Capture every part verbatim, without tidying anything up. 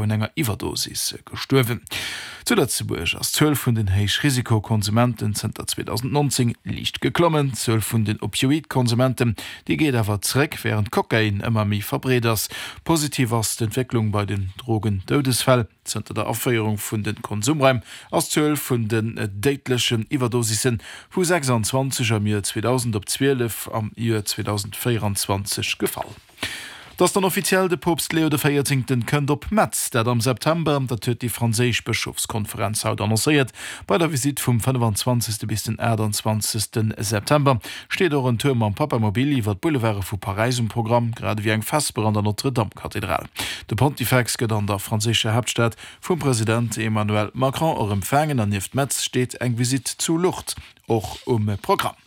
un enger Iwwerdosis gestuerwen. Zu Lëtzebuerg ass d'Zuel vun den Héichrisikokonsumenten zënter zweedausendnonzéng liicht geklommen. D'Zuel vun den Opioid-Konsumenten, déi geet awer zeréck, wärend Kokain ëmmer méi verbreet ass. Positiv ass d'Entwécklung bei den Drogendoudesfäll. Zënter der Aféierung vun de Konsumraim ass d'Zuel vun den déidlechen Iwwerdosisse vu sechsanzwanzeg am Joer zweedausend op zwielef am Joer zweedausendvéieranzwanzeg gefall. Et ass dann offiziell, de Poopst Leo de Véierzéngten kënnt op Metz. Dat am September, dat huet déi franséisch Bëschofskonferenz haut annoncéiert. Bei der Visitt vum fënnefenzwanzegste bis den aachtanzwanzegste September steet och en Tour mam Papamobil iwwer d'Boulevarde vu Paräis um Programm, grad ewéi eng Vesper an der Notre-Dame-Kathedral. De Pontifex gëtt an der franséischer Haaptstad vum President Emmanuel Macron och empfaangen an nieft Metz steet eng Visitt zu Lourdes och um Programm.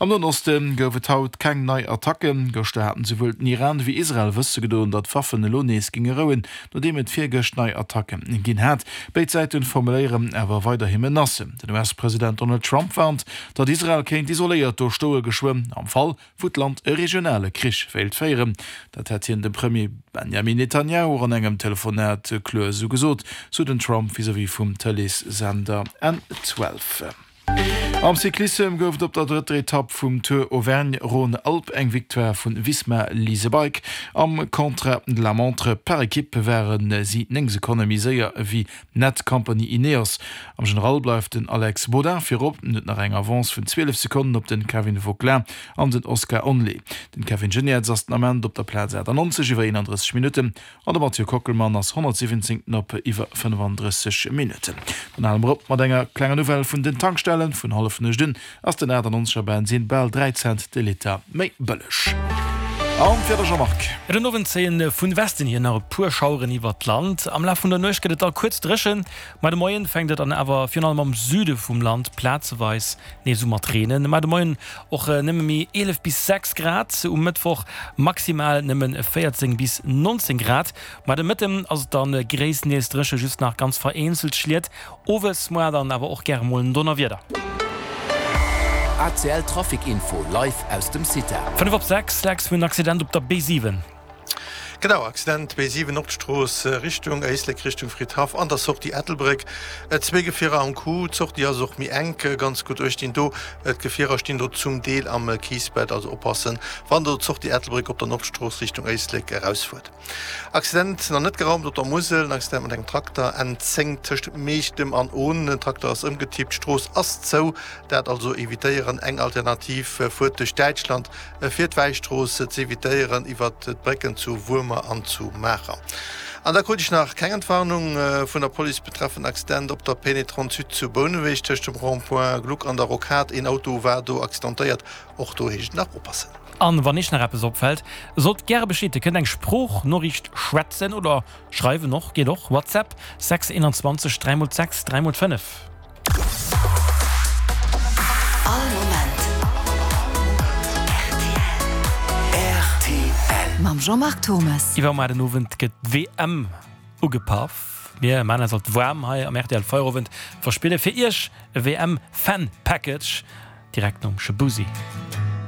Am Noen Oste gouf et haut keng nei Attacken. Gëschter haten souwuel den Iran wéi Israel wësse gedoen, datt d'Waffen elo nees géinge rouen, nodeem et virgëscht nei Attacke ginn hat. Béid Säite formuléieren awer weiderhi Menacen. Den U S-President Donald Trump warnt, datt Israel kéint isoléiert do stoe geschwënn, am Fall wou d'Land e regionale Krich wéilt féieren. Dat hätt hien dem Premier Benjamin Netanjahu an engem Telefonat kloer esou gesot, sou den Trump vis-à-vis vum Tëlees-Sender N zwielef. Am Cyclissem gouf et op der drëtter Etapp vum Tour Auvergne-Rhône-Alpes eng Victoire vun Visma Lease a Bike. Am Contre-la-montre par équipe ware si néng Sekonne méi séier ewéi Netcompany Ineos. Am General bleift den Alex Baudin virop, en huet nach eng Avance vun zwielef Sekonnen op den Kevin Vauquelin an den Oscar Onley. Den Kevin Geniets ass den Ament op der Plaz achtannonzeg iwwer eenandrësseg Minutten an de Mathieu Kockelmann ass honnertsiwwenzéngten op iwwer fënnefandrësseg Minutten. Dann hale mer op mat enger klenger Nouvelle vun den Tankstellen, Vun hallefnuecht un ass den achtannonzeger Bensin bal dräi Cent de Liter méi bëlleg. An d'Wieder, Jean-Marc. Den Owend zéien vun Westen hier nach e puer Schaueren iwwert d'Land. Am Laf vun der Nuecht gëtt et da kuerz dréchen, ma de Moien fänkt et dann awer virun allem am Süde vum Land plazeweis nees u mat reenen. Ma de Moien och nëmme méi eelef bis sechs Grad, um Mëttwoch maximal nëmme véierzéng bis nonzéng Grad. Ma de Mëtten ass et dann gréisstendeels dréchen, just nach ganz vereenzelt Schliet. Owes muer dann awer och gäre mol en Donnerwieder. A C L Trafic Info live aus dem CITA. Fënnef op sechs, Lex, mir hunn en Accident op der B siwen. Genau, Accident B siwen Nordstrooss Richtung Éislek, Richtung Fridhaff an der Sortie Ettelbréck. Zwee Gefierer am Coup, d'Sortie ass och méi enk, ganz gutt uecht dinn do. D'Gefierer stinn do zum Deel am Kiesbett, also oppassen wann der d'Sortie Ettelbréck op der Nordstrooss Richtung Éislek erausfuert. Accident nach net geraumt op der Musel, en Accident mat engem Trakter N zéng tëscht Meechtem an Ohn. Den Trakter ass ëmgetippt, d'Strooss ass zou, dat also evitéieren. Eng Alternativ, fuert duerch Däitschland fir d'Wäistrooss z'evitéieren iwwert d'Brécken zu Wuermer an zu Maacher. An da krut ech nach keng Entwarnung vun der Police betreffend Accident op der Pénétrante Sud zu Bouneweg tëscht dem Rond-point Gluck an der Rocade. Een Auto war do accidentéiert, och do heescht et nach oppassen. An wann iech nach eppes opfällt, sot gäre Bescheed. Dir kënnt eng Sproochnoriicht schwätzen oder schreiwen och, geet och, WhatsApp sechs einundzwanzeg dräi mol sechs dräi mol fënnef. All Moment R T L mam Jean-Marc Thomas. Iwwer muer den Owend gëtt d'W M ugepaff. Mir maan eis alt waarm hei am R T L Feierowend, verspille fir iech e W M Fan Package direkt nom Shaboozey.